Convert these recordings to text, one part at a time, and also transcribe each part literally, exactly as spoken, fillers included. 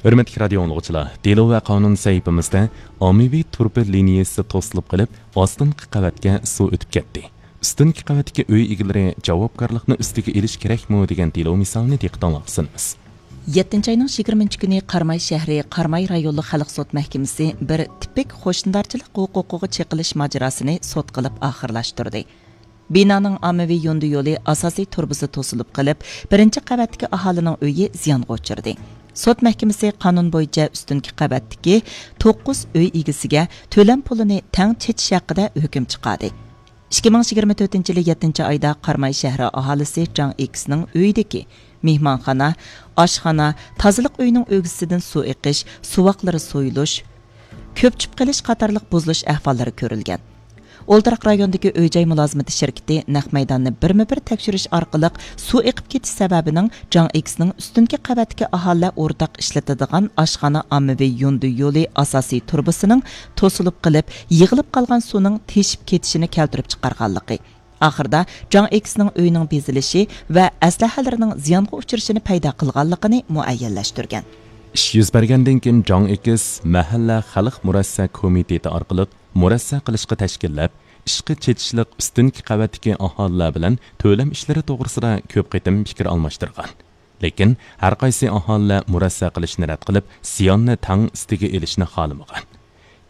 ھۆرمەتلىك رادىيو ئاڭلىغۇچىلار، دېلو ۋە قانۇن سەھىپىمىزدە ئاممىۋى تۇرۇبا لىنىيەسى توسۇلۇپ قېلىپ، ئاستىنقى قەۋەتكە سۇ ئۆتۈپ كەتتى. ئۈستۈنكى قەۋەتتىكى ئۆي ئىگىلىرى جاۋابكارلىقنى ئۈستىگە ئېلىش كېرەكمۇ دېگەن دېلو مىسالىنى دىققىتىڭلارغا سۇنىمىز. يەتتىنچى ئاينىڭ يىگىرمىنچى كۈنى قاراماي شەھىرى قاراماي رايونلۇق خەلق سوت مەھكىمىسى بىر تىپىك قوشنىدارچىلىق ھوقۇقىغا چېقىلىش ماجىراسىنى سوت قىلىپ ئاخىرلاشتۇردى. بىنانىڭ ئاممىۋى يوندى يولى ئاساسىي تۇرۇبىسى توسۇلۇپ قېلىپ، بىرىنچى قەۋەتتىكى ئاھالىنىڭ ئۆيى زىيانغا ئۇچرىدى. سوت مەھكىمىسى قانۇن بويىچە ئۈستۈنكى قەۋەتتىكى توققۇز ئۆي ئىگىسىگە تۆلەم پۇلىنى تەڭ چېچىش ھەققىدە ھۆكۈم چىقاردى. ئىككى مىڭ يىگىرمە تۆتىنچى يىلى يەتتىنچى ئايدا قاراماي شەھىرى ئاھالىسى جاڭ ئېكسنىڭ ئۆيىدىكى مېھمانخانا، ئاشخانا، تازىلىق ئۆيىنىڭ ئۆگزىسىدىن سۇ ئېقىش، سۇۋاقلىرى سويۇلۇش، كۆپچۈپ قېلىش قاتارلىق بۇزۇلۇش ئەھۋاللىرى كۆرۈلگەن. ئولتۇراق رايوندىكى ئۆي-جاي مۇلازىمىتى شىركىتى نەق مەيداننى بىرمۇ بىر تەكشۈرۈش ئارقىلىق سۇ ئېقىپ كېتىش سەۋەبىنىڭ جاڭ ئېكسنىڭ ئۈستۈنكى قەۋەتتىكى ئاھالىلەر ئورتاق ئىشلىتىدىغان ئاشخانا ئاممىۋى يوندى يولى ئاساسىي تۇرۇبىسىنىڭ توسۇلۇپ قېلىپ، يىغىلىپ قالغان سۇنىڭ تېشىپ كېتىشىنى كەلتۈرۈپ چىقارغانلىقى، ئاخىرىدا جاڭ ئېكسنىڭ ئۆيىنىڭ بېزىلىشى ۋە ئەسلىھەلىرىنىڭ زىيانغا ئۇچرىشىنى پەيدا قىلغانلىقىنى مۇئەييەنلەشتۈرگەن. ئىش يۈز بەرگەندىن كېيىن جاڭ ئېكس مەھەللە خەلق مۇرەسسە كومىتېتى ئارقىلىق مۇرەسسە قىلىشقا تەشكىللەپ، ئىشقا چېتىشلىق ئۈستۈنكى قەۋەتتىكى ئاھالىلەر بىلەن تۆلەم ئىشلىرى توغرىسىدا كۆپ قېتىم پىكىر ئالماشتۇرغان. لېكىن ھەرقايسى ئاھالىلەر مۇرەسسە قىلىشنى رەت قىلىپ، زىياننى تەڭ ئۈستىگە ئېلىشنى خالىمىغان.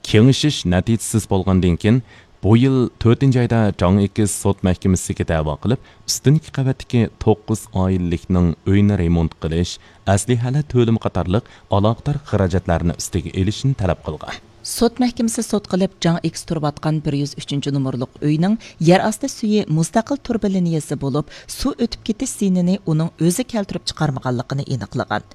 كېڭىشىش نەتىجىسىز بولغاندىن كېيىن، بۇ يىل تۆتىنچى ئايدا جاڭ ئېكس سوت مەھكىمىسىگە دەۋا قىلىپ، ئۈستۈنكى قەۋەتتىكى توققۇز ئائىلىلىكنىڭ ئۆيىنى رېمونت قىلىش، ئەسلىھەلەر تۆلىمى قاتارلىق ئالاقىدار خىراجەتلەرنى ئۈستىگە ئېلىشنى تەلەپ قىلغان. سوت مەھكىمىسى سوت قىلىپ، جاڭ ئېكس تۇرۇۋاتقان بىر يۈز ئۈچىنچى نومۇرلۇق ئۆينىڭ يەر ئاستى سۈيى مۇستەقىل تۇرۇبا لىنىيەسى بولۇپ، سۇ ئۆتۈپ كېتىش زىيىنىنى ئۇنىڭ ئۆزى كەلتۈرۈپ چىقارمىغانلىقىنى ئېنىقلىغان.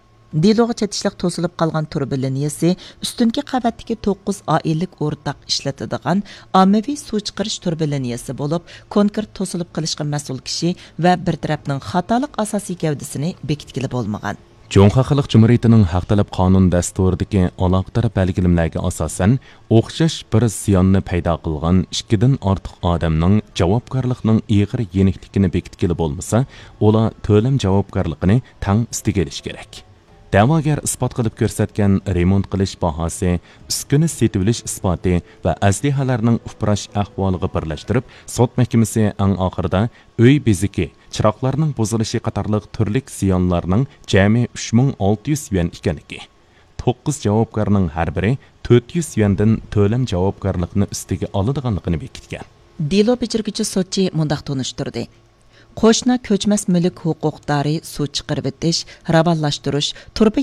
دېلوغا چېتىشلىق توسۇلۇپ قالغان تۇرۇبا لىنىيەسى ئۈستۈنكى قەۋەتتىكى توققۇز ئائىلىلىك ئورتاق ئىشلىتىدىغان ئاممىۋى سۇ چىقىرىش تۇرۇبا لىنىيەسى بولۇپ، كونكرېت توسۇلۇپ قېلىشقا مەسئۇل كىشى ۋە بىر تەرەپنىڭ خاتالىق ئاساسىي گەۋدىسىنى بېكىتكىلى بولمىغان. جۇڭخۇا خەلق جۇمھۇرىيىتىنىڭ ھەق تەلەپ قانۇن دەستۇرىدىكى ئالاقىدار بەلگىلىمىلەرگە ئاساسەن، ئوخشاش بىر زىياننى پەيدا قىلغان ئىككىدىن ئارتۇق ئادەمنىڭ جاۋابكارلىقنىڭ ئېغىر يېنىكلىكىنى بېكىتكىلى بولمىسا، ئۇلار تۆلەم جاۋابكارلىقىنى تەڭ ئۈستىگە ئېلىشى كېرەك. دەۋاگەر ئىسپات قىلىپ كۆرسەتكەن رېمونت قىلىش باھاسى، ئۈسكۈنە سېتىۋېلىش ئىسپاتى ۋە ئەسلىھەلەرنىڭ ئۇپراش ئەھۋالىغا بىرلەشتۈرۈپ، سوت مەھكىمىسى ئەڭ ئاخىرىدا ئۆي بېزىكى، چىراغلارنىڭ بۇزۇلۇشى قاتارلىق تۈرلۈك زىيانلارنىڭ جەمئىي ئۈچ مىڭ ئالتە يۈز يۈەن ئىكەنلىكى، توققۇز جاۋابكارنىڭ ھەر بىرى تۆت يۈز يۈەندىن تۆلەم جاۋابكارلىقىنى ئۈستىگە ئالىدىغانلىقىنى بېكىتكەن. دېلو بېجىرگۈچى سوتچى مۇنداق تونۇشتۇردى: قوشنا كۆچمەس مۈلۈك ھوقۇقدارى سۇ چىقىرىۋېتىش، راۋانلاشتۇرۇش، تۇرۇبا